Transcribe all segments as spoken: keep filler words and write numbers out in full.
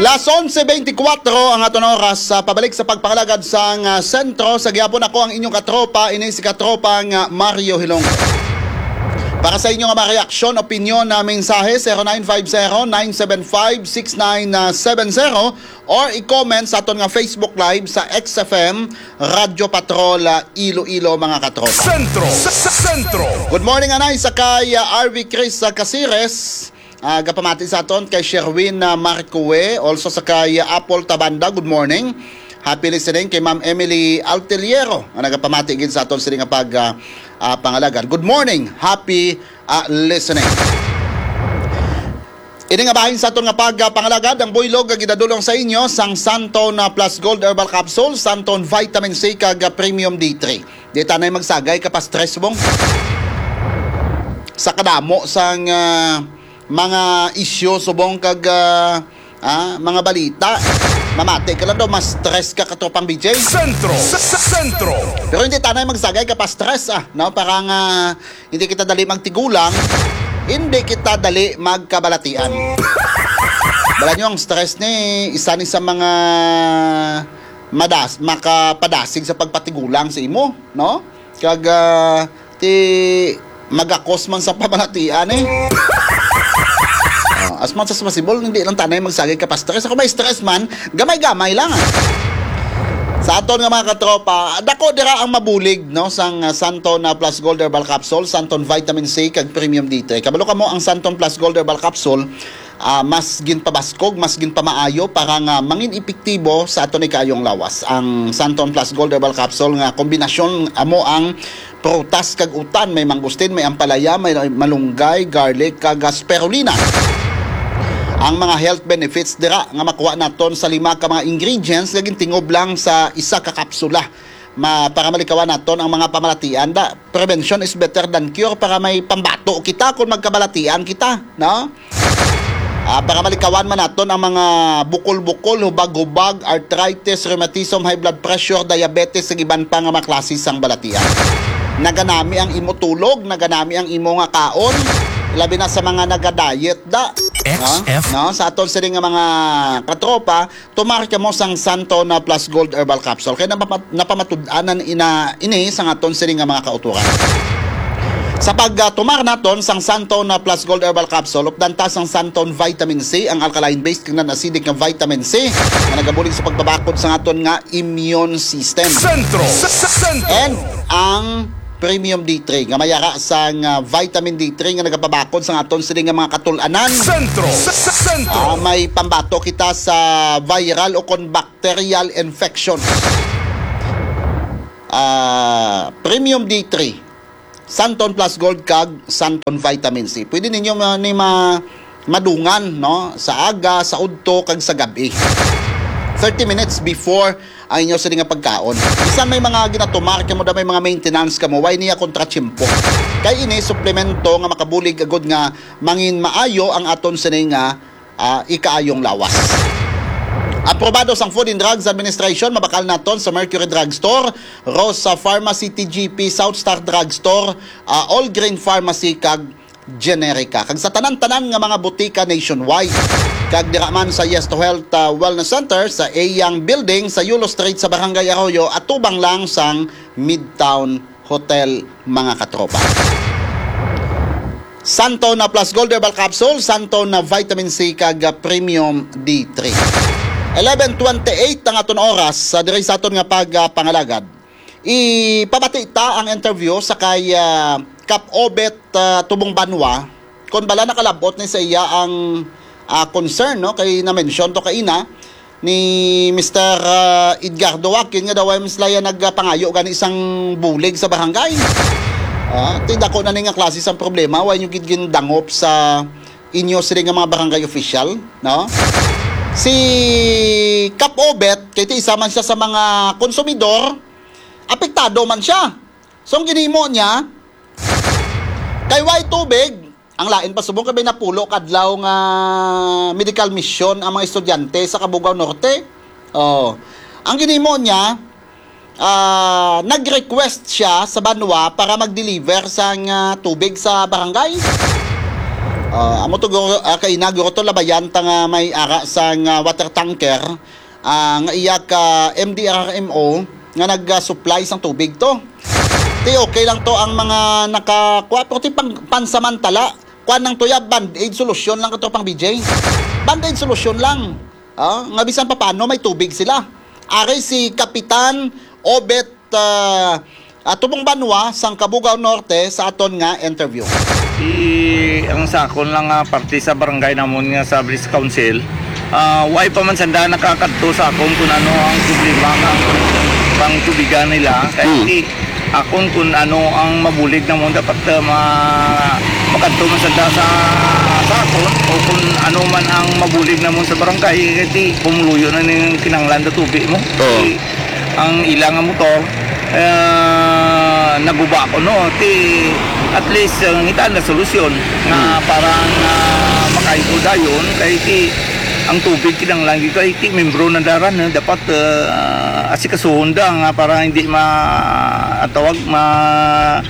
Las onse beintikwatro ang aton oras. Sa pabalik sa pagpangalagad sang, ah, sentro, sa gihapon ako ang inyong katropa, ini si katropang, ah, Mario Hilong. Para sa inyo nga mga reaksyon, opinyon na mensahe, zero nine five zero, nine seven five, six nine seven zero, or i-comment sa aton nga Facebook Live sa X F M Radyo Patrol, ah, Iloilo, mga katropa. Sentro, sa, sa sentro. Good morning, anay, sa kay, ah, R V Chris sa Casires. Ah, gapamati sa aton kay Sherwin, ah, Marcoe, also sa kay, ah, Apple Tabanda, good morning. Happy listening kay Ma'am Emily Alteliero, nga nagapamati gid sa aton sini nga pag, ah, ah, pangalagad. Good morning, happy, ah, listening. Ini nga bahin sa aton nga pag, ah, pangalagad, ang buylog nga ginadulong sa inyo sang Santon, ah, Plus Gold Herbal Capsule, Santon Vitamin C, kag, ah, Premium D three. Di tanay magsagay ka pa stress, bong. Sa kadamo sang, ah, mga isyu, subong kag, ah, ah, mga balita. Mamati ka lang daw, mas stress ka, katropang B J. Sentro, sa, sa sentro. Pero hindi tanay magsagay ka pa stress, ah, no? Para nga hindi kita dali magtigulang, hindi kita dali magkabalatian. Bala nyo, ang stress ni isa ni sa mga madas, makapadasig sa pagpatigulang sa imo, no? Kag, ah, ti magakos man sa pamalatian, eh. Ah, as much as possible, hindi lang tanay magsagay ka pa stress. Ako may stress man, gamay-gamay lang, ah. Sa aton nga mga katropa, dako dira ang mabulig, no, sang, ah, Santon, ah, Plus Gold Herbal Capsule, Santon Vitamin C, kag Premium D three. Kabalo kamo, ang Santon Plus Gold Herbal Capsule, ah, mas ginpabaskog, mas ginpamaayo para nga mangin epektibo sa aton ikayong lawas. Ang Santon Plus Gold Herbal Capsule nga kombinasyon amo ang prutas kag utan, may mangustin, may ampalaya, may malunggay, garlic, kag spirulina. Ang mga health benefits dira nga makuha naton sa lima ka mga ingredients nga gintingob lang sa isa ka kapsula. Ma-, para malikawan naton ang mga pamalatian, da, prevention is better than cure, para may pambato kita kung magkabalatian kita, no? Ah, para malikawan man naton ang mga bukol-bukol, hubag-hubag, arthritis, rheumatism, high blood pressure, diabetes, ug iban pa nga mga klase sang balatian. Naganami ang imo tulog, naganami ang imo nga kaon, labi na sa mga naga-diet, da. X F. No? Sa aton sini nga mga katropa, tumar kamo sang Santon Plus Gold Herbal Capsule. Kay napamat-, napamatud-anan ina, ini sang aton sini nga mga kautoran. Sa pagtumar naton sang Santon Plus Gold Herbal Capsule, updan ta sang Santon Vitamin C, ang alkaline-based kag non-acidic nga vitamin C nga nagabulig sa pagpabakod sa aton nga immune system. Sentro. Sa, sa sentro. And ang Premium D three nga may ara sang, ah, vitamin D three nga nagapabakod sa aton sini nga mga katul-anan. Sentro. Sa, sa sentro. Ah, may pambato kita sa viral o kon bacterial infections. Ah, Premium D three, Santon Plus Gold, kag Santon Vitamin C. Pwede ninyo ma-, ni ma-, madungan, no, sa aga, sa udto, kag sa gab-i. Thirty minutes before ang inyo sini nga pagkaon. Bisan may mga ginatumar kamo, da, may mga maintenance kamo, way niya kontra tiyempo. Kay ini suplemento nga makabulig agud nga mangin maayo ang aton sini nga, ah, ikaayong lawas. Aprobado sang Food and Drugs Administration, mabakal naton sa Mercury Drugstore, Rosa Pharmacy, T G P, South Star Drugstore, ah, All Grain Pharmacy, kag Generica, kag sa tanan-tanan nga mga butika nationwide. Kag dira man sa Yes to Health, ah, Wellness Center sa Eyang Building sa Yulo Street sa Barangay Arroyo, atubang lang sang Midtown Hotel, mga katropa. Santon Plus Gold Herbal Capsule, Santon Vitamin C, kag, ah, Premium D three. Eleven twenty-eight ang aton oras, ah, diri sa aton nga pag, ah, pangalagad. Ipabati ta ang interview sa kay, ah, Kap Obet, ah, Tubong Banwa, kung bala nakalabot ni sa iya ang, ah, concern, no? Kay na-mention to kaina ni Mister, ah, Edgardo Joaquin nga daw ay mas laya nagpangayo gani sang bulig sa barangay. Ah, ti dako na ni nga klase sang problema, wa nyo gid gindangop sa inyo sila nga mga barangay official, no? Si Kap Obet, kay ti isa man siya sa mga konsumidor, apektado man siya. So, ang ginhimo niya, kay way tubig, ang lain pa subong kay may napulo kadlaw nga medical mission ang mga estudyante sa Cabugao Norte. Oh. Ang ginhimo niya, ah, nag-request siya sa banwa para mag-deliver sang, ah, tubig sa barangay. Ah, amo to, guro, ah, kay na, guro, to labayan ta nga may ara sang, ah, water tanker, ah, nga iya ka M D R R M O nga nag-supply sang tubig to. Ti okay lang to ang mga nakakuha, pero ti pang-, pansamantala, kuan lang to ya, band-aid solution lang to, pang B J. Band-aid solution lang. Ah, nga bisan papano may tubig sila. Ari si Kapitan Obet, ah, ah, Tubong Banwa sang Cabugao Norte sa aton nga interview. I, ang sa akon lang nga parte sa barangay namon nga sa Village Council, ah, way pa man sanda nakakadto sa akon kung ano ang problema nga pang tubigan nila. Kay Hmm. i, akon kung ano ang mabulig namon dapat, ah, ma-, makadto man sanda sa, sa akon o kung ano man ang mabulig namon sa barangay, kay ti pumuluyo na ning kinahanglan sa tubig mo. Oo. Ti ang ila nga motor, ah, naguba ko, no? Ti at least, ah, ngita na solusyon nga Hmm. para nga makain ko dayon, kay ti ang tubig kinahanglan gyud kay ti membro na daran, eh, dapat, ah, asikasuhon da nga para hindi ma-, ang tawag, ma-,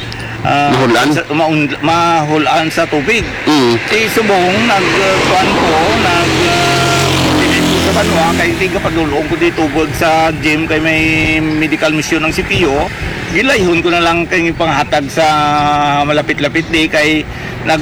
ah, Mahul-an? sa, maun-, mahul-an sa tubig. Mm. Si Subong, nag, uh, kuwan ko, nag, uh, diretso sa banwa, kay di ka padulong ko di tubod sa gym, kay may medical mission ang C P O. Gilayhon ko na lang kay panghatag sa malapit-lapit di, kay nag,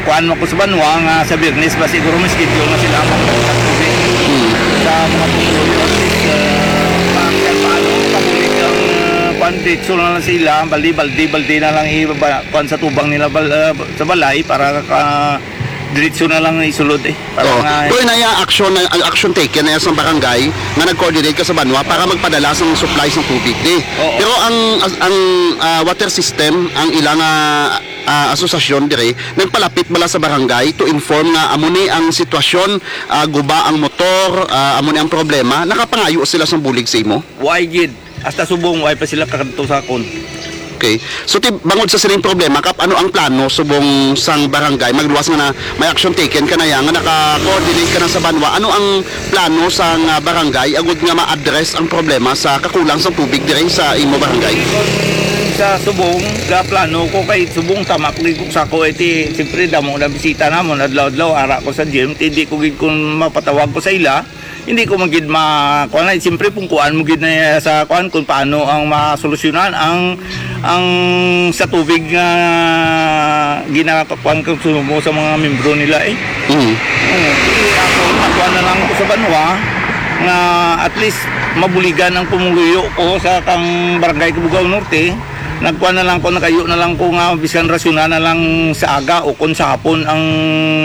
kuwan mo ko sa banwa nga sa Biyernes ba siguro may schedule na sila ang paghatag tubig Mm. sa mga pumuluyo. At least, uh, pa-, paano kabulig ang, uh, kuwan, diretso na lang sila, baldi, baldi, baldi na lang ibaba, kuwan sa tubang nila, bal-, uh, sa balay para ka, diretso na lang isulod, eh. Para Oo. nga Pero na ya action na, ang action taken na ya sa barangay nga nag-coordinate ka sa banwa para magpadala sang supply sang tubig, di. Oo. Pero ang, as-, ang, ah, water system, ang ilang, ah, ah, asosasyon dire, nagpalapit bala sa barangay to inform nga amo ni ang sitwasyon, ah, guba ang motor, ah, amo ni ang problema, nakapangayo sila sang bulig sa imo? Why gid? Hasta subong, way pa sila kakadto sa akon. Okay. So, ti-, bangod sa sining problema, Kap, ano ang plano subong sang barangay? Magluwas nga na may action taken ka na ya, nga naka-coordinate ka na sa banwa. Ano ang plano sang, ah, barangay agud nga ma-address ang problema sa kakulang sang tubig diri sa imo barangay? Sa subong, ga plano ko kay subong tama ko gid sa ko, eh, ti, siyempre, damo na bisita namon, adlaw-adlaw, ara ko sa gym, ti, di ko gid kun mapatawag ko sa ila, Hindi ko man gid ma-, kuwan na, siyempre, kung kuwan mo gid na sa kuwan, kung paano ang masolusyonan ang, ang sa tubig nga ginakuwan, konsumo sa mga membro nila, eh. Mm. Oo. Di ako, nakuha na lang ko sa banwa nga at least mabuligan ang pumuluyo ko sa kang Barangay Cabugao Norte. Nagkuha na lang ko, nagayo na lang ko nga bisan rasyonan na lang sa aga o kung sa hapon ang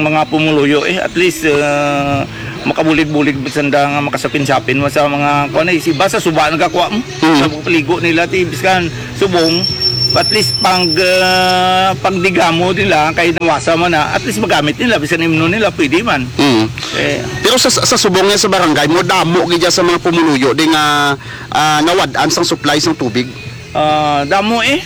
mga pumuluyo, eh. At least, uh, makabulig-bulig sanda nga makasapin-sapin mo sa mga, kuwan, eh, si iba sa suba nagakuha mo. Mm. Sa paligo nila, ti, biskan subong, at least pang, ah, pagdigamo nila, kay nawasa man na, at least magamit nila, biskan imnon nila, pwede man. Mm. Eh. Pero sa, sa subong nga sa barangay mo, damo gid sa mga pumuluyo di nga, ah, nawad-an sang supply sang tubig? Ah, damo, eh.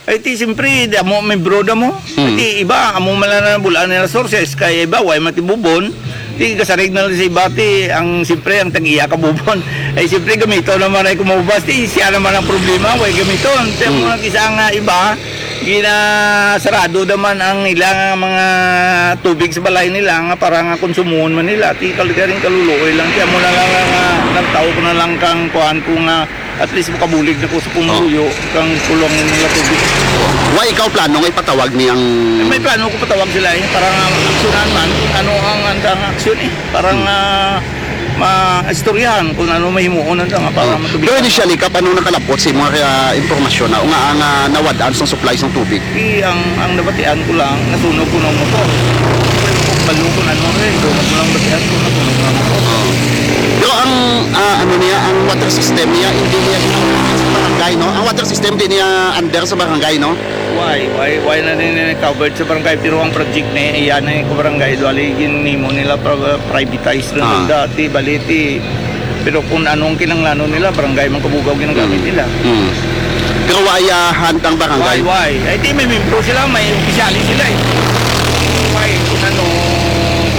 Ay, ti, siyempre, damo, may broda mo. Hmm. Ay, ti, iba, amo man lang na bulaan nila sources, kay iba, way matibubon. Ti, kasarig na lang sa iba, ti, ang, siyempre, ang tag-iya ka bubon. Ay, siyempre, gamito naman ay kumubas, ti, siya naman ang problema, way gamiton. Ti, amo Hmm. lang isa nga iba, ginasarado naman ang ilang mga tubig sa balay nila nga para nga konsumon man nila. Ti, kaligaring kaluluoy lang, ti, amo na lang nga, nagtao ko na lang kang kuhan ko nga At least makabulig na ko sa pumuluyo Oh. kang kulong nila tubig. Wa ikaw plano nga ipatawag ni ang May plano ko patawag sila eh, para nga aksyonan man kung ano ang andang aksyon eh. Para Hmm. nga maistoryahan kung ano mahimuon nanda nga para Oh. matubig. Pero initially, Kap, ano nakalapot sa imong, ah, impormasyon na, nga ang, ah, nawad-an sang supply sang tubig? Di ang, ang nabatian ko lang, nasunog ko ng motor. Balo ko na nun, eh. Sunog ko lang batian ko, nasunog ko ng motor. Oo. Pero ang, ah, ano niya, ang water system niya, hindi niya sa barangay, no? Ang water system, di niya under sa barangay, no? Why? Why, why na din covered sa barangay? Pero ang project na iyan na yung barangay, duwali, ginimo nila pra-, privatized na Ah. lang dati, baliti. Pero kung anong kinanglanon nila, barangay man Kabugaw ginagamit Mm. nila. Mm. Pero wa ya hantang barangay? Why, why? Eh, di may membro sila, may opisyali sila eh. Why? Kung ano,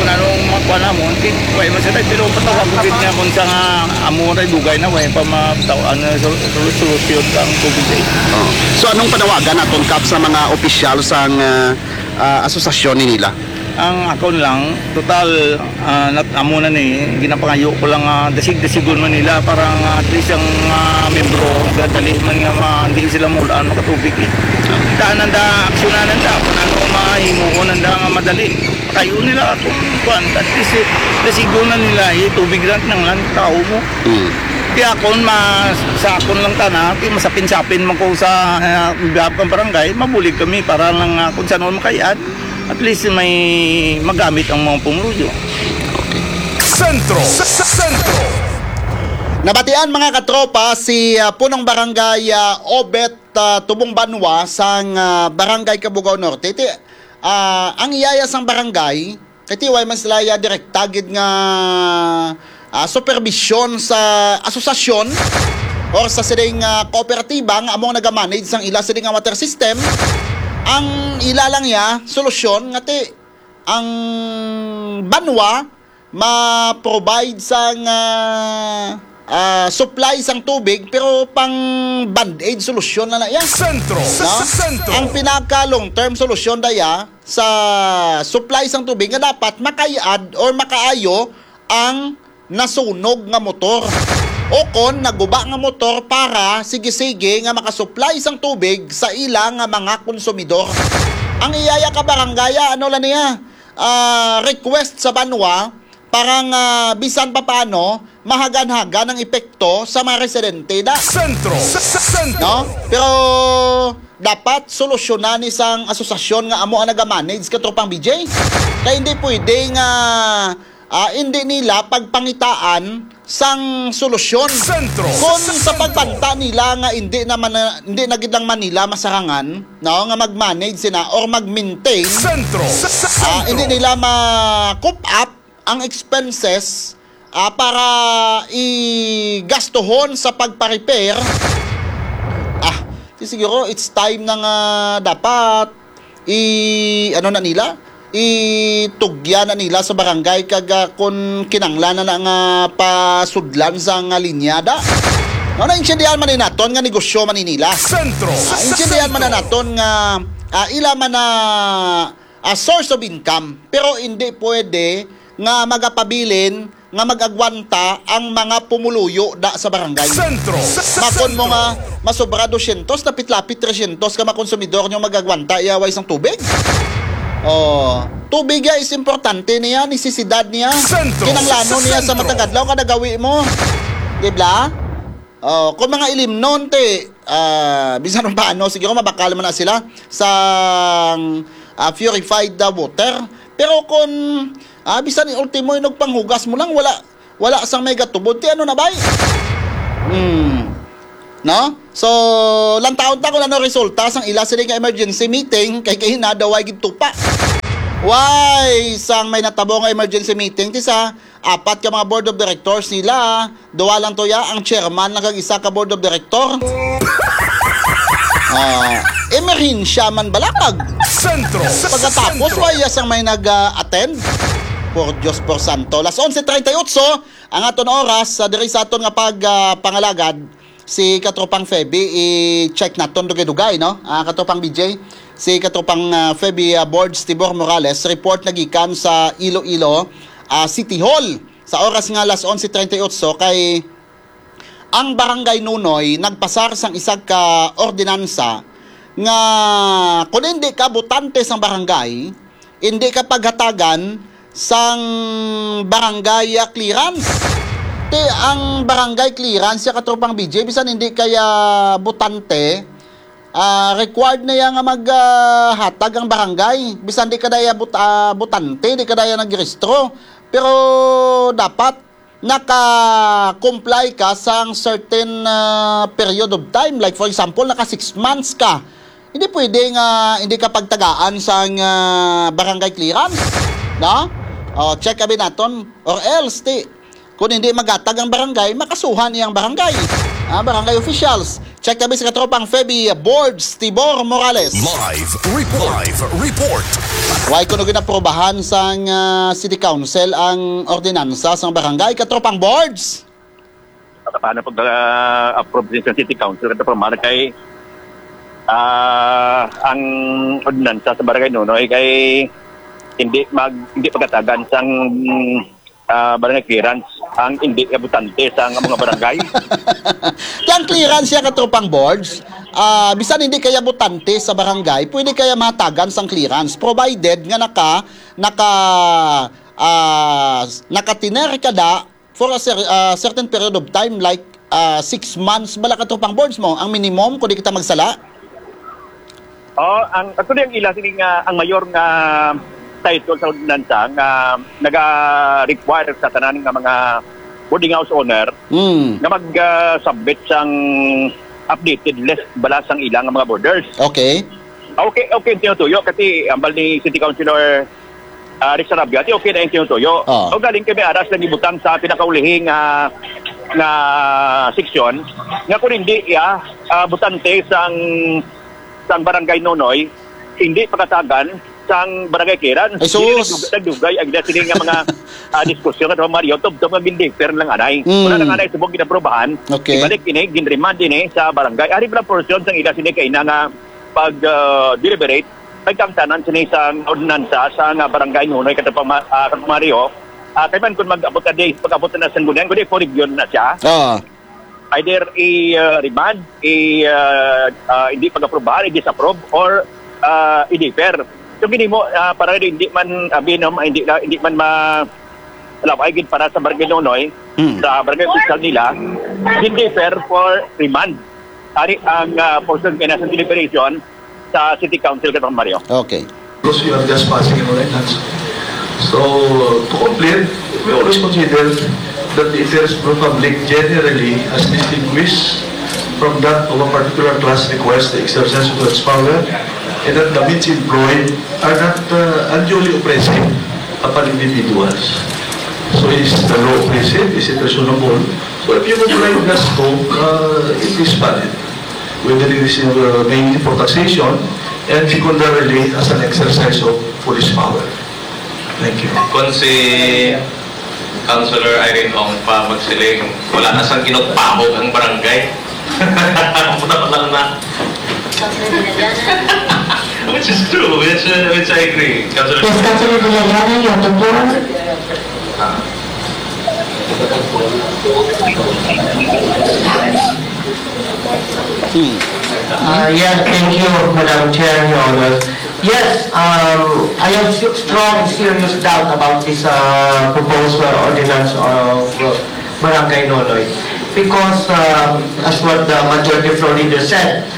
kung ano ang makuha namon, di, why man sila? Pero patawag ko gid nga kung sa nga amo na dugay na, why pa ma-, taw-, ano, sol-, sol-, solusyon ang tubig eh. Oh. So, anong panawagan naton, Kap, sa mga opisyal sang, ah, ah, asosasyon ni nila? Ang akon lang, total, ah, nat-, amo na ni, ginapangayo ko lang, ah, dasig-dasigon man nila para nga at least ang, ah, membro, gadali man nga ma-, hindi sila maulan, makatubig, eh. Daan nanda, aksyonan nanda, kung ano mahimuon nanda nga madali. Kayo nila kung kuwan, at least, eh, dasigon na nila, eh, tubig lang kinanglan, tao mo. Hmm. Kaya akon, ma-, sa akon lang tana, kaya masapin-sapin man ko sa, ah, behalf ng barangay, mabulig kami para lang, ah, kung saan makayad. At least may magamit ang mga pumuluyo. Okay. Sentro. Sa, sa Sentro. Nabatian, mga katropa, si, ah, Punong Barangay, ah, Obet, ah, Tubong Banwa sang, ah, Barangay Cabugao Norte. Ti, ah, ang iyaya sang barangay, kay ti way man sila iya direkta gid nga, ah, superbisyon sa asosasyon or sa sining, ah, kooperatiba nga amo ang nagamanage sang ila sining nga water system. Ang ila lang iya solusyon nga ti ang banwa ma-provide sang, ah, ah, supply sang tubig, pero pang band-aid solusyon na na iya. Sentro. No? Sa Sentro. Ang pinaka long-term solusyon daya sa supply sang tubig nga dapat makayad or makaayo ang nasunog nga motor o kon naguba nga motor para sige-sige nga makasupply sang tubig sa ila nga mga konsumidor. Ang iyaya ka barangaya, ano lang niya, ah, request sa banwa para nga bisan pa paano mahagan-hagan ang epekto sa mga residente da. Sentro. Sa, sa Sentro. No? Pero dapat solusyonan ni sang asosasyon nga amo ang nagamanage, katropang B J. Kay hindi pwede nga, ah, hindi nila pagpangitaan sang solusyon. Sentro. Kung sa pagbanta nila nga hindi naman na, hindi na gid lang Manila masarangan, no, nga mag-manage sina or mag-maintain, Sentro. Sa, sa ah, hindi nila ma-coop up ang expenses, ah, para igastuhon sa pagpa-repair. Ah, di siguro it's time na nga dapat i-, ano na nila, itugya na nila sa barangay kag, ah, kung kinanglan na, na nga pasudlan sa nga linya da. No, naintindihan man ni naton nga negosyo man ni nila. Sentro. Ah, intindihan man na naton nga, ah, ila man na, ah, source of income, pero hindi pwede nga magapabilin nga mag-agwanta ang mga pumuluyo da sa barangay. Sentro. Sa, sa Makon mo Sentro. Nga masobra dosyentos, lapit-lapit tresyentos ka mga konsumidor nyo mag-agwanta iya way sang tubig. Oh, tubig ya is importante niya, nisisidad niya. Sentro. Kinanglano Sa niya sa Sentro. Matag adlaw kada gawi mo. Di ba? Oh, kung mga ilimnon, te, ah, bisan pa ano, siguro mabakal man na sila sa, ah, purified, ah, water. Pero kung, ah, bisan ultimo, inog panghugas mo lang, wala, wala sang may gatubod, te, ano na, bay? Hmm. No? So, lantaon ta kung ano resulta sang ila sila nga emergency meeting, kay kahinada way gid tupa. Way sang may natabo nga emergency meeting, ti sa apat ka mga board of directors nila, duha lang to ya, ang chairman lang kag isa ka board of director. Ah, emerhensya man bala kag Sentro. Pagkatapos, Sentro. Wala sang may nag-attend. Por Dios, por santo. Las onse treinta y ocho ang aton oras sa diri sa aton nga pag, ah, pangalagad. Si Katropang Feby, i-check naton dugay-dugay, no? Ah, Katropang B J, si Katropang, ah, Feby, ah, Borge Tibor Morales, report na gikan sa Iloilo, ah, City Hall. Sa oras nga alas onse treinta y ocho, kay ang Barangay Nunoy nagpasar sang isa ka ordinansa nga kung hindi ka botante sang barangay, hindi ka paghatagan sang barangay, ah, clearance. Ti ang barangay clearance, ya, Katropang B J, bisan hindi ka ya botante, ah, required na ya nga mag, ah, hatag ang barangay. Bisan di ka daya bot-, ah, botante, di ka daya nagrehistro. Pero dapat naka-comply ka sang certain, ah, period of time. Like, for example, naka six months ka. Hindi pwede nga hindi ka pagtagaan sang, ah, barangay clearance, no? O, check abi naton. Or else, ti, kung hindi maghatag ang barangay, makasuhan iyang barangay. Ah, barangay officials. Check abi sa Katropang Feby, Borge Tibor Morales. Live report. Live report. Why kuno ginaprobahan sang, ah, City Council ang ordinansa sang barangay, Katropang Borge? Paano pag, ah, approve din sa City Council, Katropang Mar, kay, ah, ang ordinansa sa Barangay Nunoy kay hindi mag-, hindi pagatagan sang, ah, barangay clearance ang hindi abotante sa mga barangay. Ang clearance siya, katropang boards, ah, bisan hindi kaya abotante sa barangay, pwede kaya mahatagan sang clearance, provided nga naka, naka, ah, nakatiner ka da for a cer-, ah, certain period of time, like, ah, six months bala, katropang boards, mo ang minimum kung di kita magsala? Oh, ang, actually, ang ila sini nga, ang mayor nga title sa ordinansa nga naga-require sa tanan nga mga boarding house owner Hmm. nga mag, ah, submit sang updated list bala sang ila nga mga boarders. Okay. Okay, okay ang tinutuyo kasi ambal ni City Councilor, ah, Rick Sarabia, di okay na yung tinutuyo. Oh. O galing kay may aras lang ibutang sa pinakaulihing, ah, nga seksyon nga kung hindi iya, ah, butante sang, sang barangay Nonoy, hindi pagatagan sang barangay clearance. Ay, sus! Hindi nagdug-, nagdugay ang ila sini nga mga, ah, diskusyon, Katropang Mario, tubtob nga gindifer lang anay. Mm. Wala lang anay subong ginaprobahan. Okay. Ibalik ini, ginremand ini sa barangay. Ari pala portion sang ila sini kay na nga pag, ah, deliberate, nagkangtanan sini sa ordinansa sa nga barangay Nonoy, Katropang Ma-, ah, Katropang Mario. Ah, kay man kung mag-abot na day, pag-abot na sa Sangguniang, kundi for review na siya. Ah. Either i, ah, remand, i, ah, ah, hindi pag-aprobahan, i-disapprove, or, ah, i-defer. So, ginimo, ah, para hindi man, abi, no, hindi na, hindi man ma-, malaway gid para sa barangay Nonoy, Hmm. sa barangay official nila, hindi fair for remand. Ari ang, ah, portion kay nasa deliberation sa City Council, Katropang Mario. Okay. Because you are just passing an ordinance. So, to complete, we always consider that the interest of the public generally as distinguished from that of a particular class requires the exercise of its power, and that the means employed are not, uh, unduly oppressive upon individuals. So, is the law oppressive? Is it reasonable? So, if you comply with that scope, uh, it is valid. Whether it is, uh, mainly for taxation and secondarily as an exercise of police power. Thank you. Kung si Councilor Irene Ong pa magsiling, wala na sang kinugpahog ang barangay. Wala lang na. Which is true, which, uh, which I agree. Councilor Yes, Councilor Villariana, you have the floor. Ah. Hmm. Uh, yes, thank you, Madam Chair, Your Honor. Yes, um, I have s-, strong, serious doubt about this, uh, proposed, uh, ordinance of, uh, Barangay Nonoy. Because, um, as what the majority floor leader said,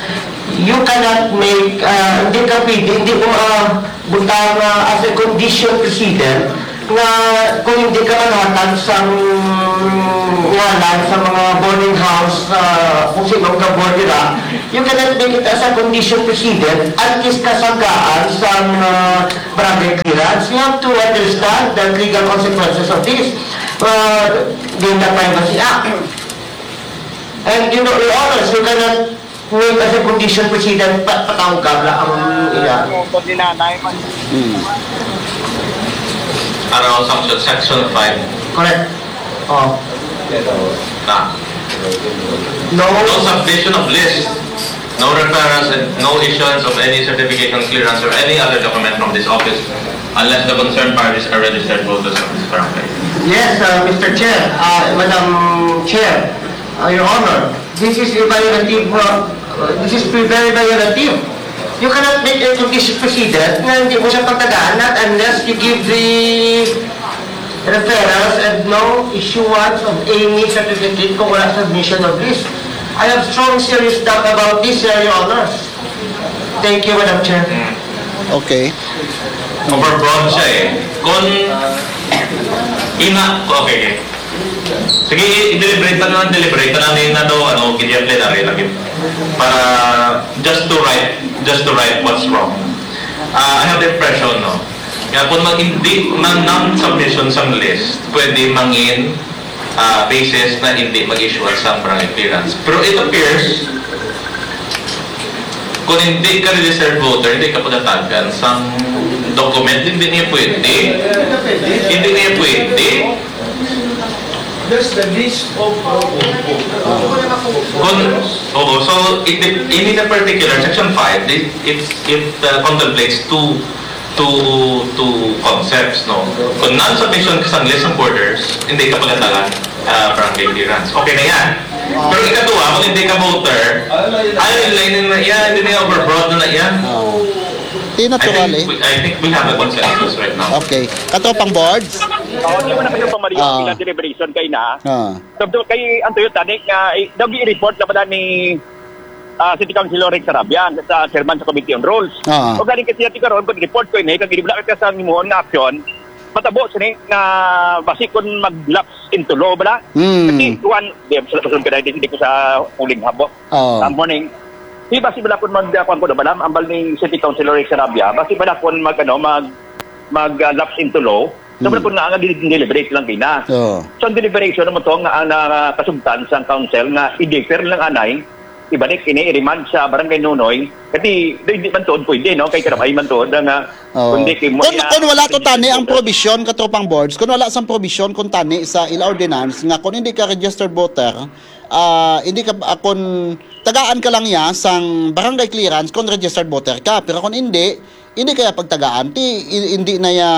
you cannot make, uh, hindi ka pwede, hindi mo, uh, butang, uh, as a condition precedent nga kung hindi ka maghatag sang ngalan sa mga boarding house, ah, kung sino ang ka-board nila, you cannot make it as a condition precedent at least kasangkaan sang, ah, barangay clearance. You have to understand the legal consequences of this. Uh, Data Privacy Act. And you know, Your Honors, you cannot May kasi condition precedent pa, patawag ka, wala ang iya. Ano, pag ninanay man. Hmm. Around section, section five. Correct. Oh. Na. No. No submission of list, no referrals, and no issuance of any certification, clearance, or any other document from this office unless the concerned parties are registered voters of this barangay. Yes, uh, Mister Chair, uh, Madam Chair, uh, Your Honor, this is a violative, uh, uh, this is very violative. You cannot make a condition precedent nga hindi mo siya pagtagaan, not unless you give the referrals and no issuance of any certificate kung wala submission of list. I have strong serious doubt about this, uh, Your Honor. Thank you, Madam Chair. Okay. Overbroad siya eh. Kung ina, okay, okay. Sige, i-, i-deliberate na lang, deliberate na lang na daw, ano, ganyan plenary lagi. Para just to right, just to right what's wrong. Ah, I have the impression, no, nga kung mag-, hindi, non-, non-submission sang list, pwede mangin, ah, basis na hindi mag-issue sang barangay clearance. Pero it appears, kung hindi ka registered voter, hindi ka pagatagan sang document, hindi niya pwede. Hindi niya pwede. That's the list of, uh, Kung, oo, so, it, it, in the particular, section five, it, it, it, uh, contemplates two, two, two concepts, no? Kung non-submission ka sang list ng borders, hindi ka pagkatagan, ah, barangay clearance. Okay na yan. Pero ikatuwa, kung hindi ka voter, ay, lain na yan, hindi na overbroad na yan. Oh. Di natural eh. We, I think we have a consensus right now. Okay. Katropang boards? Oo, di mo na kayo pamariyo Ah. ang ilang deliberation kay na. Ah. So, do, kay ang Toyota ni nga, eh, daw gi-report na pala ni ah, City Councilor Rex Sarabia sa chairman sa Committee on Rules. Ah. O galing kasi natin karon, pag-report ko ini, kag gibula ka sa imuhon nga aksyon, matabo sini nga basi kun mag-lapse into law bala. Hmm. Kasi kuan, di sa kasunod ka na, hindi ko sa uling habo. Oh. Sa morning, di basi bala kun mag kuan ko na bala, ambal ni City Councilor Rex Sarabia, basi bala kun mag ano, mag mag uh, lapse into law. So Hmm. bala kun nga nga deliberate lang kina. Oh. So ang deliberation naman to nga ang nakasugtan sa council nga i-defer lang anay, ibalik ini i-remand sa barangay Nunoy. Kasi di, di man tuod pwede, no? Kay karabay man tuod nga Oh. kundi kay mo Kung, iya- kung wala to tani ang provision, Katropang Boards, kung wala sang provision kung tani sa ila ordinance nga kung hindi ka registered voter, ah, hindi ka, ah, kung tagaan ka lang ya sang barangay clearance kung registered voter ka, pero kung hindi, hindi kaya pagtagaan, ti, i- hindi na ya,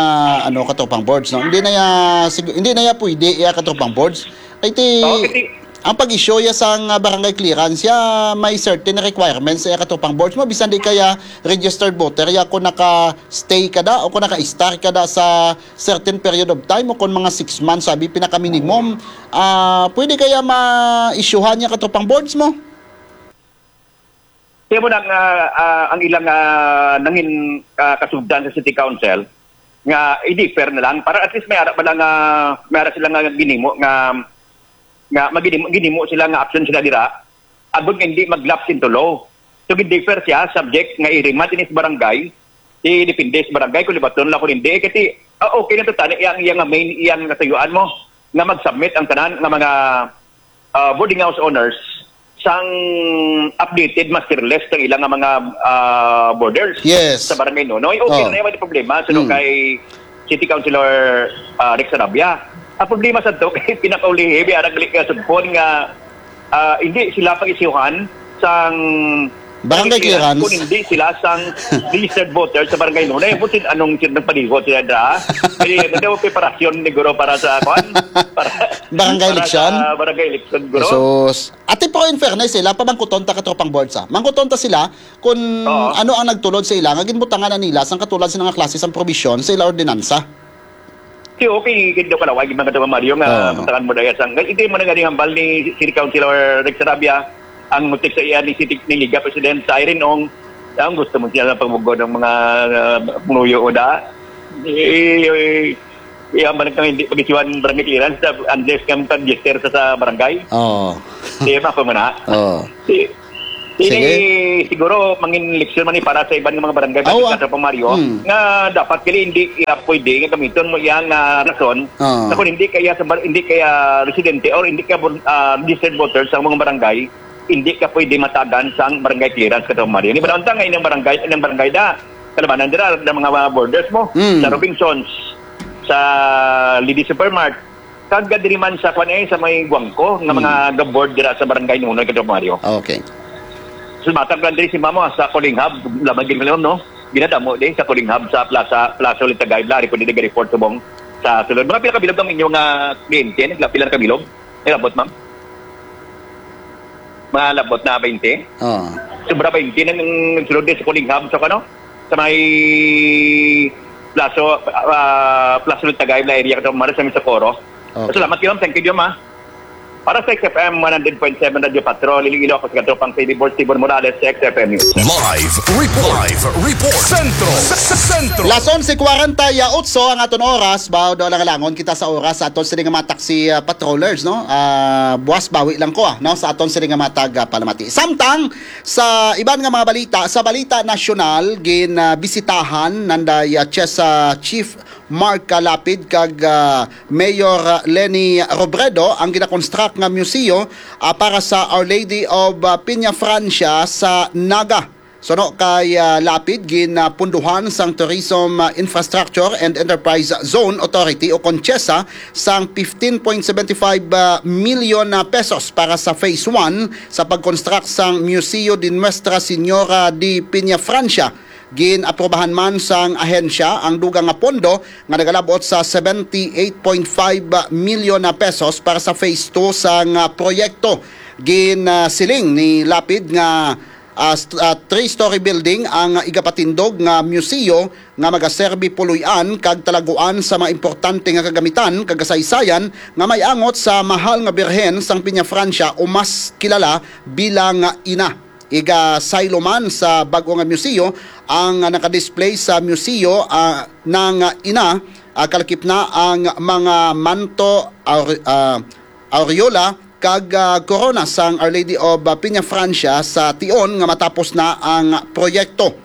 ano, Katropang Boards, no? Hindi na ya, sig- hindi na ya pwede ya, Katropang Boards. Kay ti, Oo, kasi ang pag-issue ya sang, ah, barangay clearance ya may certain requirements ya, Katropang Boards, mo, bisan di kaya registered voter ya, kung naka-stay ka da o kung naka-star ka da sa certain period of time o kung mga six months, sabi, pinaka-minimum, ah, pwede kaya ma-issuehan ya, Katropang Boards, mo? Kaya mo nang ah, ah, ang ilang ah, nangin ah, kasugdan sa City Council nga i-defer na lang para at least may ara pala nga may ara sila nga ginimo nga nga maginimo, ginimo sila nga action sila dira agud nga hindi mag-lapse into law. So gi-defer siya subject nga i-remand ini sa barangay, i depende sa barangay kung libaton lang kung hindi. Kasi ah, okay na to tani iyang iyang main iyang natuyuan mo nga mag-submit ang tanan nga mga ah, boarding house owners sang updated master list sang ilang nga mga ah, borders Yes. sa barangay Nunoy. Okay Oh. na yung problema. So, Hmm. kay City Councilor ah, Rex Sarabia. Ang problema sa to, kay pinakaulihi, may arang gali nga sugpon nga ah, hindi sila pag-isyuhan sang Barangay clearance. Kung hindi sila sang registered voter sa barangay Nunoy. Busin anong sila nagpaligo sila da? Kaya ano daw preparasyon ni Guro para sa kwan? Para, Barangay para election? Sa barangay election, Guro. Jesus. Ate, pero in fairness, sila, pamangkuton ta, Katropang Boards, ah. Mangkuton ta sila kung Oo. ano ang nagtulod sa ila nga ginbutangan na nila sang katulad sa mga klase sang probisyon sa ila ordinansa. Si okay, gid daw kalaway, gid mga Katropang Mario, nga Oo. butangan mo daya sang, hindi mo na galing hambal ni City Councilor Rex Sarabia, ang mutik sa iya ni City ni Liga President sa Irene Ong, ang gusto mo siya sa pagbugo ng mga uh, munuyo o da. Eh, eh, eh, ang barangay hindi pag-isyuhan barangay clearance sa- unless kang pag-register sa, sa barangay. Oh. Di ba ako muna? Oh. Si, ini Sige. Siguro mangin leksyon man ni para sa iban nga mga barangay Aw, sa Pamario hmm. Nga dapat kini hindi iya pwede nga gamiton mo iya nga rason Ah. Sa kung hindi kaya sa bar- hindi kaya residente or hindi ka bor- ah, registered voter sa mga barangay, hindi ka pwede matagan sa barangay clearance, Katropang Mario. Di ba naman nga inyong barangay, inyong barangay da kalabanan dira ng mga borders mo Hmm. sa Robinsons, sa Lady Supermart, kag diri man sa kwan eh, sa may Guangco nga Hmm. mga gaboard dira sa barangay Nunoy, Katropang Mario. Okay. So matag lang diri si Mamo sa Kulinghab, lamang gid mo no. Ginadamo di sa Kulinghab sa Plaza Plaza Litagay, Blari pwede di report subong sa sulod. Mga pila ka bilog ang inyong ah, kliyente, nagla- pila na ka bilog? Nilabot, ma'am? Mga labot na twenty? Oh. Sobra twenty na nang nagsulod di sa Kulinghab sa kano? Sa may Plaza ah, Plaza Litagay, Blari area ka sa Socorro. Okay. Salamat kayo, ma'am. Thank you, ma'am. Para sa X F M one hundred point seven Radio Patrol, Iloilo, ako si Katropang Freddy Bortibor Morales sa X F M News. Live report. Live report. Sentro. Sentro. Las onse cuarenta y ocho ang aton oras. Baw daw lang langon kita sa oras sa aton sini nga mga taxi ah, patrollers, no? Ah, buwas bawi lang ko ah, no? Sa aton sini nga mga taga palamati. Samtang sa iban nga mga balita, sa balita nasyonal, gin ah, bisitahan nanday ah, Chesa Chief Mark ah, Lapid kag ah, Mayor ah, Leni Robredo ang ginakonstruct nga museo ah, para sa Our Lady of ah, Peña Francia sa Naga. Suno kay ah, Lapid, ginapunduhan sang Tourism ah, Infrastructure and Enterprise Zone Authority o kon CHESA sang fifteen point seven five ah, million ah, pesos para sa phase one sa pag-construct sang Museo de Nuestra Señora de Peña Francia. Gin-aprobahan man sang ahensya ang dugang nga pondo nga nagalabot sa seventy-eight point five million na pesos para sa phase two sang, ah, proyekto. Ginsiling ni Lapid nga, ah, st-, ah, three-story building ang igapatindog nga museo nga magaserbi puloy-an kag talaguan sa mga importante nga kagamitan kag kasaysayan nga may angot sa mahal nga birhen sang Peñafrancia o mas kilala bilang Ina. Igasaylo man sa bag-o nga museo ang nakadisplay sa museo, ah, ng Ina, ah, kalakip na ang mga manto, aure-, ah, aureola kag, ah, korona sang Our Lady of, ah, Peñafrancia sa tion nga matapos na ang proyekto.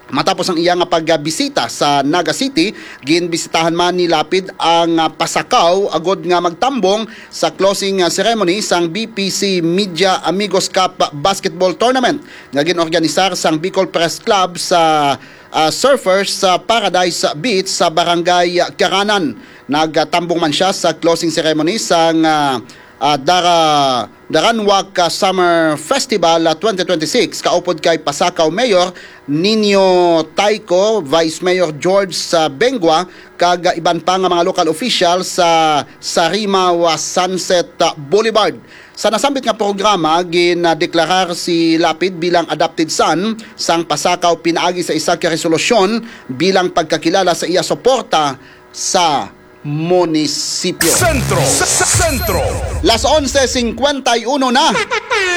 Matapos ang iya nga pagbisita sa Naga City, ginbisitahan man ni Lapid ang, ah, Pasacao agod nga magtambong sa closing, ah, ceremony sang B P C Media Amigos Cup Basketball Tournament nga ginorganisar sang Bicol Press Club sa, ah, Surfers sa Paradise Beach sa Barangay Caranan. Nagtambong man siya sa closing ceremony sang, ah, ah, Dara-, Daranwak, ah, Summer Festival, ah, twenty twenty-six, kaupod kay Pasacao Mayor Nino Tayco, Vice Mayor George, ah, Bengua, kag, ah, iban pa nga mga local officials sa Sarimawa Sunset, ah, Boulevard. Sa nasambit nga programa, gindeklarar si Lapid bilang adopted son sang Pasacao pinaagi sa isa ka resolusyon bilang pagkakilala sa iya suporta sa munisipyo. Sentro. Sentro. Las onse cincuenta y uno na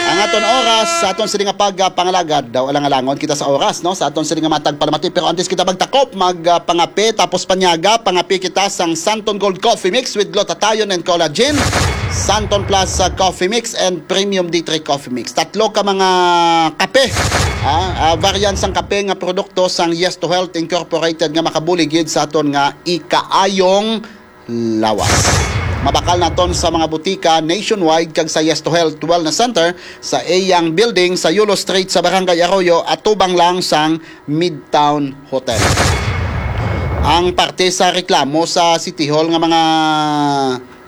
ang aton oras sa aton sini nga pagpangalagad. Daw alang-alangon kita sa oras, no? Sa aton sini nga matag palamati. Pero antes kita magtakop, magpangape, tapos panyaga, pangape kita sang Santon Gold Coffee Mix with glutathione and collagen, Santon Plus, uh, Coffee Mix, and Premium D three Coffee Mix. Tatlo ka mga kape, ah, ah, variant sang kape nga produkto sang Yes to Health Incorporated nga makabulig gid sa aton nga ikaayong lawas. Mabakal naton sa mga butika nationwide kag sa Yes to Health Wellness Center sa Eyang Building sa Yulo Street sa Barangay Arroyo, atubang lang sang Midtown Hotel. Ang parte sa reklamo sa City Hall nga mga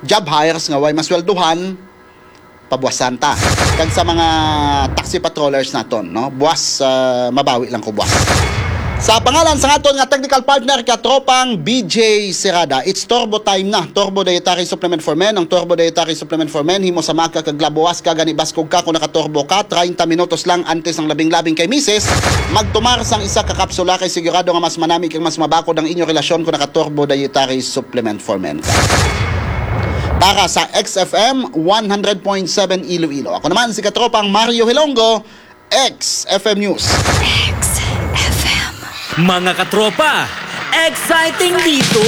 job hires nga way masweldohan, pabuwasan ta. Kag sa mga taxi patrollers naton, no? Buwas, ah, mabawi lang ko buwas. Sa pangalan sa aton nga technical partner, katropang B J Serada, it's Turbo Time na. Turbo Dietary Supplement for Men. Ang Turbo Dietary Supplement for Men, himo sa maka kag labuwas ka, gani baskog ka kung nakaturbo ka, treinta minutos lang antes ang labing-labing kay misis. Magtumar sang isa ka kapsula kay sigurado nga mas manami kag mas mabakod ang inyo relasyon kung nakaturbo Dietary Supplement for Men ka. Para sa X F M one hundred point seven Iloilo. Ako naman si katropang Mario Hilonggo, X F M News. X F M. Mga katropa, exciting dito!